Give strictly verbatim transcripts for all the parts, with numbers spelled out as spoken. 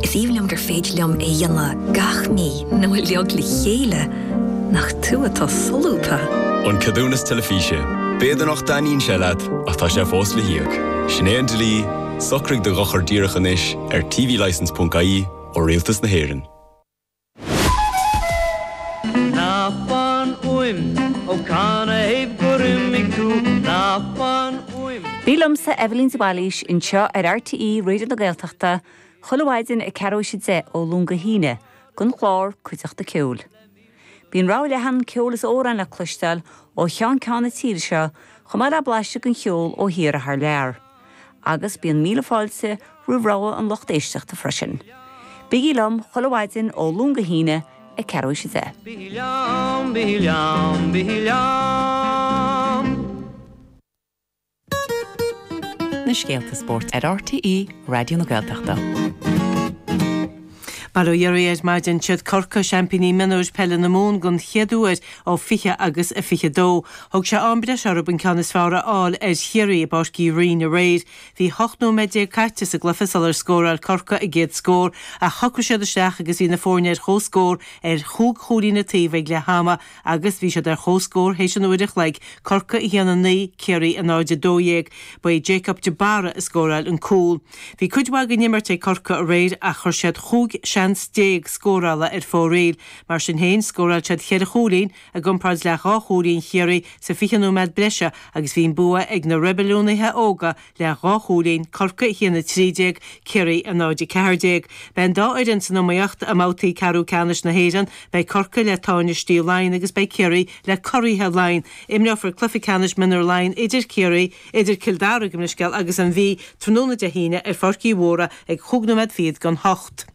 Is aoibhinn liom gur féidir liom é a dhéanamh gach mí nó uilig le chéile nach tú atá solúbtha. An ceadúnas teilifíse. B'fhéidir nach dtaitníonn sé leat ach tá sé fós le híoc. Sin é an dlí, socraigh do dhochar díreach anois ar tvlicence.ie ó Rialtas na hÉireann. Ná fan uaim ó canathaobh gur imigh tú ná fan uaim. Bí liomsa Evelyn de Bhailís anseo ar RTÉ Raidió na Gaeltachta, chuile mhaidin ag ceathrú théis a deich ó Luan go hAoine, don chlár Cuideachta Ceoil. Bíonn rogha leathan ceol is amhrán le cloisteáil ó cheann ceann na tíre seo chomh maith le blaiseadh den cheol ó thíortha thar lear. Agus bíonn míle fáilte roimh rogha an lucht éisteachta freisin. Bígí liom chuile mhaidin ó Luan go hAoine ag ceathrú théis a deich. Bí liom, bí liom, bí liom. Na scéalta spóirt ar RTÉ Raidió na Gaeltachta. Bail ó Dhia oraibh ar maidin siad Corcaigh seaimpíní mionúir peile na Mumhan don chéad uair ó fiche agus a fiche dó. Thóg sé am breise orthu an ceann is fearr a fháil ar Chiarraí i bPáirc Uí Rinn aréir. Bhí ocht nóiméad déag caite sa gcluiche sular scóráil Corcaigh a gcéad scór ach shocraigh siad isteach agus bhí na foirne ar comhscór ar chúig chúilín an taobh ag leath ama agus bhí siad ar comhscór théis an uair a chloig Corcaigh a haon a naoi Ciarraí a náid a dó dhéag ba é Jacob de Barra a scóráil an cúl. Bhí cuid mhaith den imirt ag Corcaigh aréir ach chuir siad chúig seans déag scórála ar fóraoil, mar sin féin scóráil siad ceithre chúilín i gcomparáid le dhá chúilín Chiarraí sa fiche nóiméad breise agus bhí an bua ag na reibiliúnaithe óga le dhá chúilín Corcaigh a haon a trí déag Ciarraí a náid a ceathair déag. Beidh an dá fhoireann san iomaíocht i mbabhtaí ceathrú ceannais na hÉireann, beidh Corcaigh le Tánaistí Laighean agus beidh Ciarraí le curaithe Laighean. Imreofar cluiche ceannais mionúir Laighean idir Ciarraí, idir Cill Dara gabh mo leithscéal agus an Mhí tráthnóna Dé hAoine ar Pháirc Uí Mhórdha ag chúig nóiméad fichead don hocht.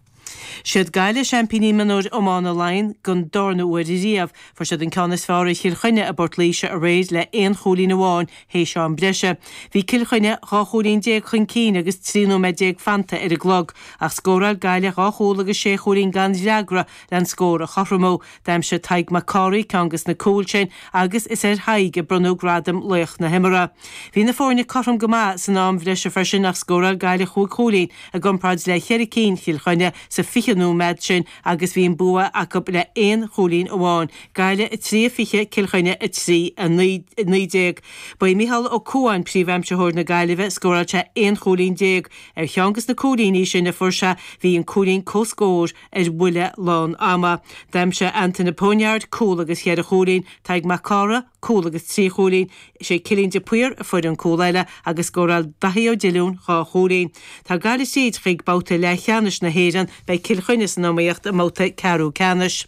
Siad Gaillimh seaimpíní mionúir iomána Laighean don darna huair riamh, fuair siad an ceann is fearr ar Chill Chainnigh i bPort Laoise aréir le aon chúilín amháin théis am breise. Bhí Cill Chainnigh dhá chúilín déag chun cinn agus trí nóiméad déag fanta ar an gclog, ach scóráil Gaillimh dhá chúl agus sé chúilín gan fhreagra le an scór a chothromú. D'aimsigh Tadhg Mac Cárthaigh ceann de na cúil sin agus is ar Thadhg a bronnadh gradam laoch na himeartha. Bhí na foirne cothrom go maith san am bhreise freisin ach scóráil Gaillimh chúig chúilín i gcomparáid le ceithre cinn Chill Chainnigh sa fiche nóiméad sin agus bhí an bua acu le aon chúilín amháin. Gaillimh a trí a fiche Cill Chainnigh a trí a naoi déag. Ba é Micheál Ó Cuain príomhaimsitheoir na Gaillimhe scóráil sé aon chúilín déag ar cheann de na cúilíní sin a fuair sé bhí an cúilín comhscóir ar bhuille lán ama. D'aimsigh Antaine Poniard cúl agus cheithre chúilín, Tadhg Mac Cárthaigh, cúl agus trí chúilín, sé Cillian de Paor a fuair an cúl eile agus scóráil Daithí Ó Diliún dhá chúilín. Tá Gaillimh tríd chuig babhta leathcheannais na hÉireann beidh Cill Chainnigh san iomaíocht i mbabhta ceathrú ceannais.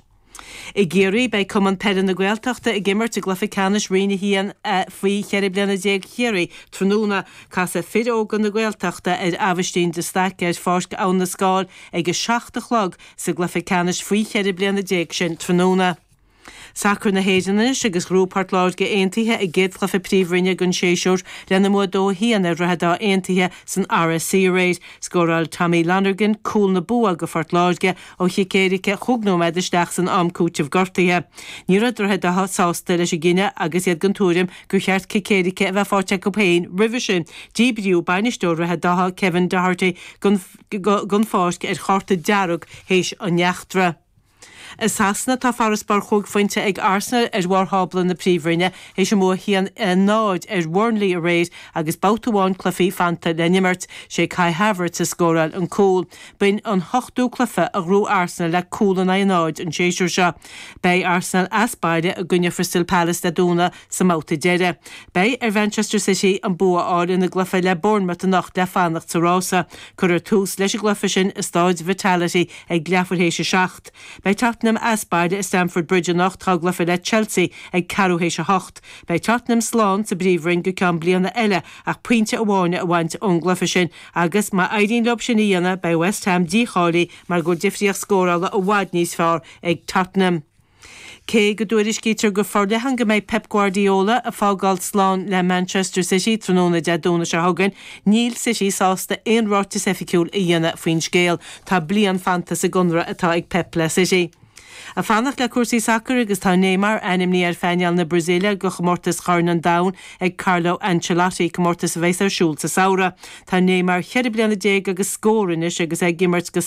I gCiarraí beidh Cumann Peile na Gaeltachta ag imirt i gcluiche ceannais Roinn a haon faoi cheithre bliana déag Chiarraí tráthnóna casfaidh fir óga na Gaeltachta ar Aibhistín de Staic ar Pháirc Abhainn na Scáil ag a seacht a chlog sa gcluiche ceannais faoi cheithre bliana déag sin tráthnóna. Sacar na hÉireann anois agus ghnóthaigh Port Láirge Aontaithe a gcéad chluiche príomhroinne den séasúr lena mbua dó a haon ar Dhroichead Átha Aontaithe san RSC aréir. Scóráil Tommy Lonergan cúl na bua go Phort Láirge ó chic éirice chúig nóiméad isteach san am cúitimh gortaithe. Ní raibh Droichead Átha sásta leis an gcinneadh agus iad den tuairim gur cheart cic éirice a bheith faighte acu féin roimhe sin. Díbríodh bainisteoir Dhroichead Átha Kevin Doherty den pháirc ar chárta dearg théis an eachtra. I Sasana tá farasbarr chúig phointe ag Arsenal ar bharr thábla na príomhroinne théis a mbua haon a náid ar Burnley aréir agus babhta amháin cluichí fanta le n-imirt sé Kai Havertz a scóráil an cúl. B'in an hochtú cluiche a ghnóthaigh Arsenal le cúl in aghaidh náid an séasúr seo. Beidh Arsenal as baile i gcoinne Crystal Palace Dé Domhnaigh sa mbabhta deiridh. Beidh ar Manchester City an bua a fháil ina gcluiche le Bournemouth anocht le fanacht sa rása. Cuirfear tús leis an gcluiche sin i Staid Vitality ag leathuair théis a seacht. Beidh Tottenham as baile i Stamford Bridge anocht dá gcluiche le Chelsea ag ceathrú théis a hocht. Beidh Tottenham slán sa bpríomhroinn go ceann bliana eile ach pointe amháin a bhaint ón gcluiche sin agus má éiríonn leo sin a dhéanamh beidh West Ham dícháilithe mar go bhfuil difríocht scórála i bhfad níos fearr ag Tottenham. Cé go dtuairiscítear go forleathan go mbeidh Pep Guardiola ag fágáil slán le Manchester City tráthnóna Dé Domhnaigh seo chugainn, níl City sásta aon ráiteas oifigiúil a dhéanamh faoin scéal. Tá bliain fanta sa gconradh atá ag Pep le City. Ag fanacht le cúrsaí sacair agus tá Neymar ainmnithe ar phainéal na Brasaíle do chomórtas Chorn an Domhain ag Carlo Ancelotti, comórtas a bheas ar siúl sa samhradh. Tá Neymar ceithre bliana déag agus scór anois agus ag imirt go